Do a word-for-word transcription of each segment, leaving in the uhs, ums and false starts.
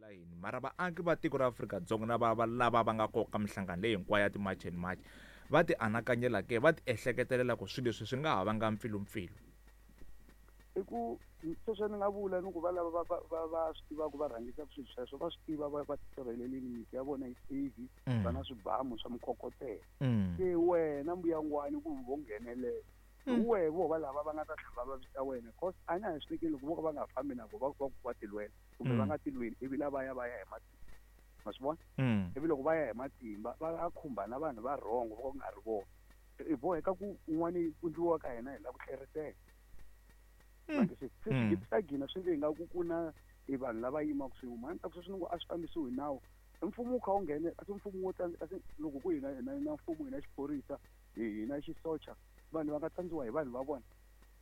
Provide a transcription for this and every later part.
humelela yini mara vaaki va tiko ra Afrika-Dzonga na va va lava va nga koka minhlangano leyi hinkwayo ya ti-March and March va ti anakanyela ke va ti ehleketelela ku swilo leswi swi nga ha vanga mpfilumpfilu. I ku sweswo ni nga vula ni ku va lava va va va va swi tivaka va rhangisaka swilo sweswo va swi tiva va va tisirhelelini miti ya vona yi safe va na swibamu swa mikokotelo. Se wena mbuyangwani ku vo nghenelela hi wehe vo va lava va nga ta tlhela va vavisa wena cause a na ha swi tekeli loko vo ka va nga fambi na vo va va va tilwela kumbe va nga tilweli ivi lavaya va ya hi matimba ma swi vona ivi loko va ya hi matimba va ya khumba na vanhu va wrong vo ka ku nga ri vona hi boheka ku un'wani ku ndliwa ka hina hi lava ku tlherisela. Se swi ta gina swi nge nga ku ku na i vanhu lava yimaka swin'we mhani ta ku sweswi ni ngo a swi fambisiwi hi nawu mfumo wu kha wu nghene kasi mfumo wo tsandza kasi loko ku hina hina na mfumo hina xiphorisa hi na xisocha vanhu va nga tsandziwa hi vanhu va vona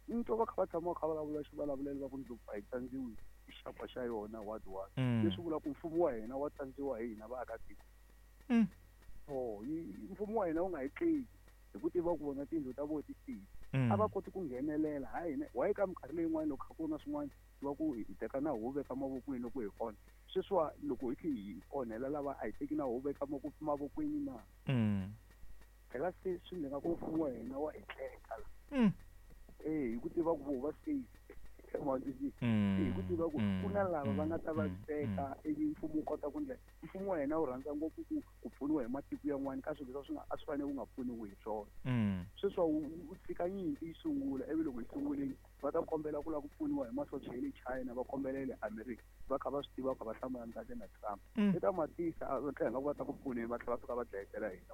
ni twa va kha va tshama va kha va vulavula xivulavulelo va ku ndlopfu a yi tsandziwi hi xakwa xa yona what what leswi vulaka ku mfumo wa hina wa tsandziwa hi hina vaakatiko. So mfumo wa hina wu nga hi tleki hi ku tiva ku vona tiyindlu ta vona ti safe a va koti ku nghenelela ha hina why ka minkarhi leyin'wana loko kha ku na swin'wana va ku hi teka na huvo veka mavokweni loko hi onha sweswiwa loko hi kha hi onhela lava a hi teki na huvo veka mavokweni na phela se swi ndzi nga ku mfumo wa hina wa hi tleka la eh hi ku tiva ku vo va safe hi ku tiva ku ku na lava va nga ta vaviseka ivi mfumo wu kota ku ndlela mfumo wa hina wu rhandza ngopfu ku ku pfuniwa hi matiko yan'wana ka swilo leswi swi nga a swi fanele wu nga pfuniwi hi swona. Sweswi wu tshika nyimpi yi sungula ivi loko yi sungulile va ta kombela ku lava ku pfuniwa hi masocha ya le China va kombela ya le America va kha va swi tiva kha va hlamulana kahle na Trump i ta matisa va tlhela nga ku va ta ku pfuneni va tlhela va fika va dlayetela hina.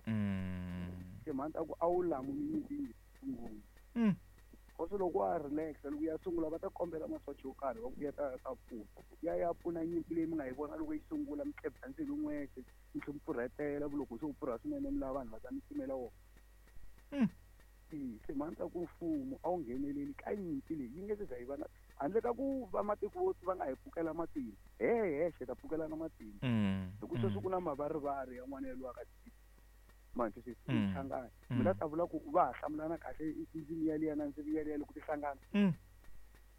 Timhaka ta ku a wu lamuli nyimpi yi sungula kasi loko wa relax loko ya sungula va ta kombela masocha yo karhi va ku ya ta ta pfuna ya ya pfuna nyimpi leyi mi nga yi vona loko yi sungula mi tlebya ndzilo n'wexe mi tlhe mi pfurhetela loko se u pfurha swinene mi lava vanhu va ta mi timela wona. Timhaka ta ku mfumo a wu ngheneleli ka nyimpi leyi yi nge se za yi va na handle ka ku va matiko va nga hi pfukela matimba he hexe ta pfukelana matimba hi ku sweswi ku na mavarivari yan'wana ya lwaka manje se hlangana mina ta vula ku va ha hlamulana kahle ndzimi yaliya na ndzimi yaliya loko ti hlangana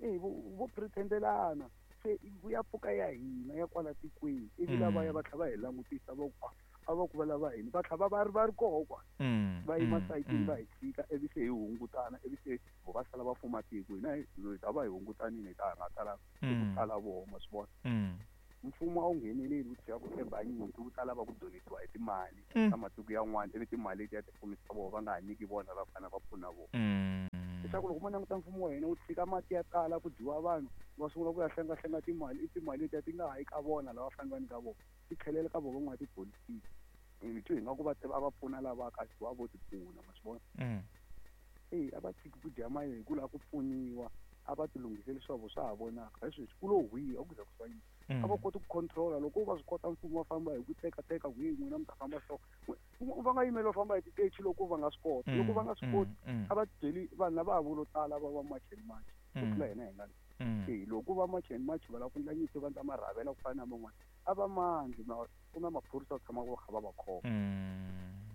eh vo pretendelana se ku ya pfuka ya hina ya kwala tikweni ivi lavaya va tlhela va hi langutisa va ku a va ku va lava hina va tlhela va ri va ri koho kwala va yima sayitini va hi tshika ivi se hi hungutana ivi se vo va sala va fuma tiko hina hi ta va hi hungutanile hi ta ha nga tala ku tala voho ma swi vona. Mfumo a wu ngheneleli wu tshika ku tshemba nyimpi wu ta lava ku donetiwa hi timali ta matiko yan'wana ivi timali letiya ti fumisa vona va nga ha nyiki vona va fanele va pfuna vona. Leswaku loko mo languta mfumo wa hina wu tshika mati ya tala ku dyiwa vanhu va sungula ku ya hlengahlenga timali i timali letiya ti nga ha yi ka vona lava fanele va nyika vona ti tlhelela ka vona van'watipolitiki hi twi hi nga ku va a va pfuna lava kasi va vo ti pfuna ma swi vona. E a va tshiki ku dya mali hi ku lava ku pfuniwa a va ti lunghiseli swa vo swa ha vonaka hi sweswi ku lo hwiya a ku za ku swa yini a va koti ku controla loko va swi kota mfumo va famba hi ku tekateka ku yi n'wina mi ta famba so va nga yimeli va famba hi titaxi loko va nga swi koti loko va nga swi koti a va byeli vanhu lava ha vulo tala va va March and March ku tlula hina hi nga e loko va March and March va lava ku endla nyimpi va endla marhavela ku fana na man'wana a va mandli ku na maphorisa ku tshama va kha va va khoma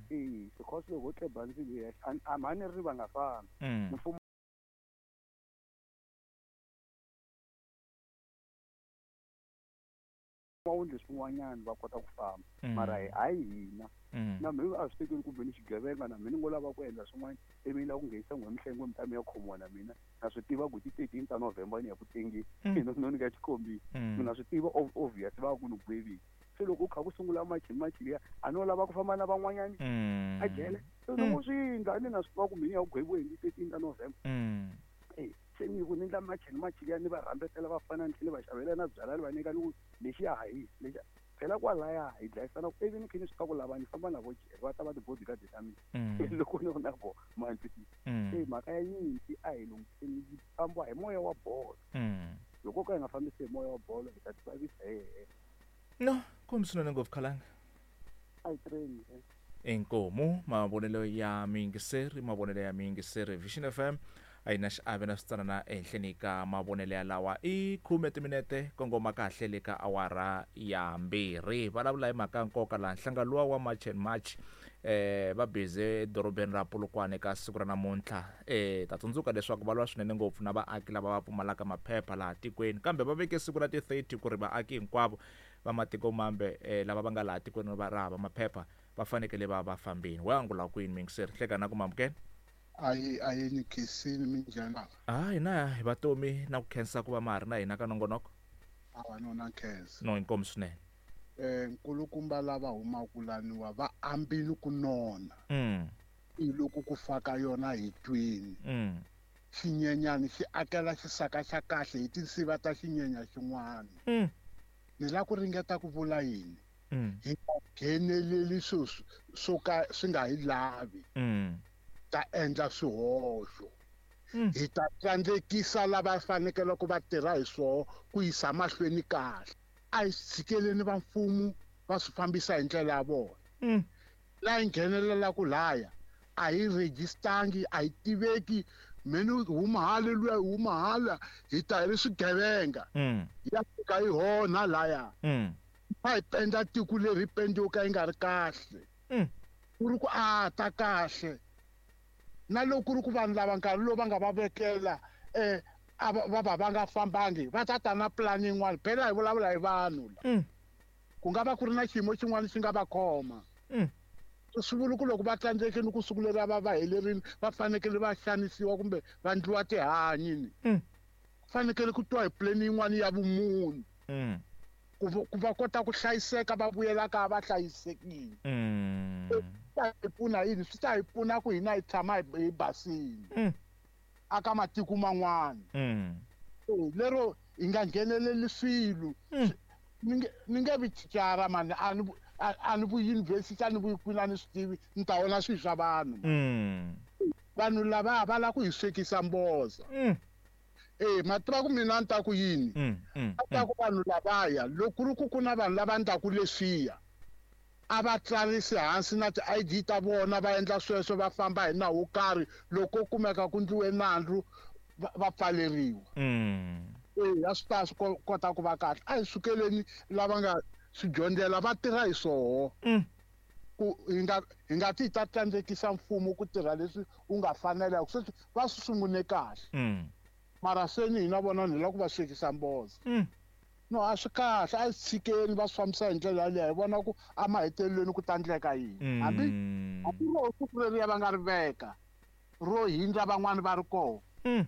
e because loko ho tleba ndzilo yexe a mhani ri va nga fambi mfumo wa wundle swin'wanyana va kota ku famba mara hayi hina na mina a swi tekeli kumbe ni xigevenga na mina ni ngo lava ku endla swin'wana ivi ni lava ku nghenisa n'we mihlengo mi ta mi ya khomiwa na mina na swi tiva ku ti thirteen ta November ni ya ku tengeni no ni ka xikombiso mina swi tiva obvious va ku ni gwevile se loko u kha ku sungula March March liya a no lava ku famba na van'wanyani a jele se loko swi endla ni na swi tiva ku mina ya ku gweviwe hi ti thirteen ta November e se ni ku ni endla March March liya ni va rhambetela va fana ni tlhela va xavela na byala ni va nyika ni ku lexiya ha hisi lexiya phela kwalaya hi dlayisana ivi ni khe ni swi tiva ku lava ni famba na vo jele va ta va ti-bodyguard ta mina loko ni ri na vona ma twisisa se mhaka ya nyimpi a hi lunghiseni yi fambiwa hi moya wa bolo loko ka hi nga fambisi hi moya wa bolo hi ta ti vavisa hi hexe. No kumbe swinene ngopfu khalanga a hi treni inkomu mavonelo ya miyingiseri mavonelo ya miyingiseri Vision F M a yi na xiave na switsanana ehenhleni ka mavonelo ya lawa i khume timinete kongoma kahle le ka awara ya mbirhi vulavula hi mhaka nkoka laha nhlangano luwa wa March and March Eh va busy edorobeni ra Polokwane ka siku ra namuntlha. Eh ta tsundzuka leswaku va lwa swinene ngopfu na vaaki lava va pfumalaka maphepha laha tikweni, kambe va veke siku ra ti thirty ku ri vaaki hinkwavo va matiko mambe eh lava va nga laha tikweni va ra hava maphepha va fanekele va va fambini. Wa angula kwini muyingiseri? Hleka na ku mamukela. Ayi ayi ni khensini minjhani? Ah hina hi vatomi na ku khensa ku va ma ha ri na hina ka nongonoko. Awa no na khensa. No inkomu swinene. Eh nkulukumba lava humaka laniwa va ambile ku nona. Mm. I loko ku faka yona hi twini. Mm. Xinyenyani xi akela xisaka xa kahle hi tinsiva ta xinyenya xin'wana. Mm. Ni la ku ringeta ku vula yini? Mm. Hi nga ngheneleli swilo swo ka swi nga hi lavi. Mm. Ta endla swihoxo. Mm. Hi ta tsandzekisa lava fanekele ku va tirha hi swoho ku yisa mahlweni kahle. A hi tshikeleni va mfumo va swi fambisa hi ndlela ya vona. Mm. Laha hi nghenelelaka laya a hi registangi, a hi tiveki, mheni huma hala luya huma hala, hi ta hi ri swigevenga. Mm. Hi ya fika hi honha laya. Mm. Va hi penda tiko leri hi pendiwe ka yi nga ri kahle. Mm. Ku ri ku a ta kahle. Na loko ku ri ku vanhu lava nkarhi lowu va nga va vekela eh a va va va nga fambangi va ta ta na plan yin'wana. Phela hi vulavula hi vanhu la. Mm. Ku nga va ku ri na xiyimo xin'wana xi nga va khoma. Mm. Swi vula ku loko va tsandzekile ku siku leri va va helerile va fanekele va xanisiwa kumbe va endliwa tihanyi ni. Mm. Fanekele ku twa hi plan yin'wana ya vumunhu. Mm. Ku ku va kota ku hlayiseka va vuyela kaya va hlayisekile. Mm. Swi ta hi pfuna yini? Swi ta hi pfuna ku hina hi tshama hi basile. Mm. Aka matiko man'wana. Mm. Lero hi nga ngheneleli swilo. Mm. Ni nge ni nge vi thicara mani, a ni a ni vuyi university, a ni vuyi kwini, a ni swi tivi, ni ta vona swilo swa vanhu. Mm. Vanhu lava va lava ku hi swekisa mboza. Mm. Eh ma tiva ku mina ni ta ku yini? Mm, mm, A ta ku vanhu lavaya loko ku ri ku ku na vanhu lava ndlaku leswiya a va tsarisi hansi na ti-I D ta vona va endla sweswo va famba hi nawu wo karhi, loko kumeka ku ndliwe nandzu va pfaleriwa. Mm. Eh a swi ta swi kota ku va kahle. A hi sukeleni lava nga swi dyondzela va tirha hi swoho. Mm. Ku hi nga hi nga ti ta tsandzekisa mfumo ku tirha leswi wu nga fanela, sweswi va swi sungule kahle. Mm. Mara seni hina vona ni lava ku va swekisa mboza. Mm. No a swi kahle, a hi tshikeni va swi fambisa hi ndlela yaleyo, hi vona ku emahetelelweni ku ta endleka yini. Hambi Mm. hambi ro siku leriya va nga ri veka ro hindza van'wani va ri kona. Mm.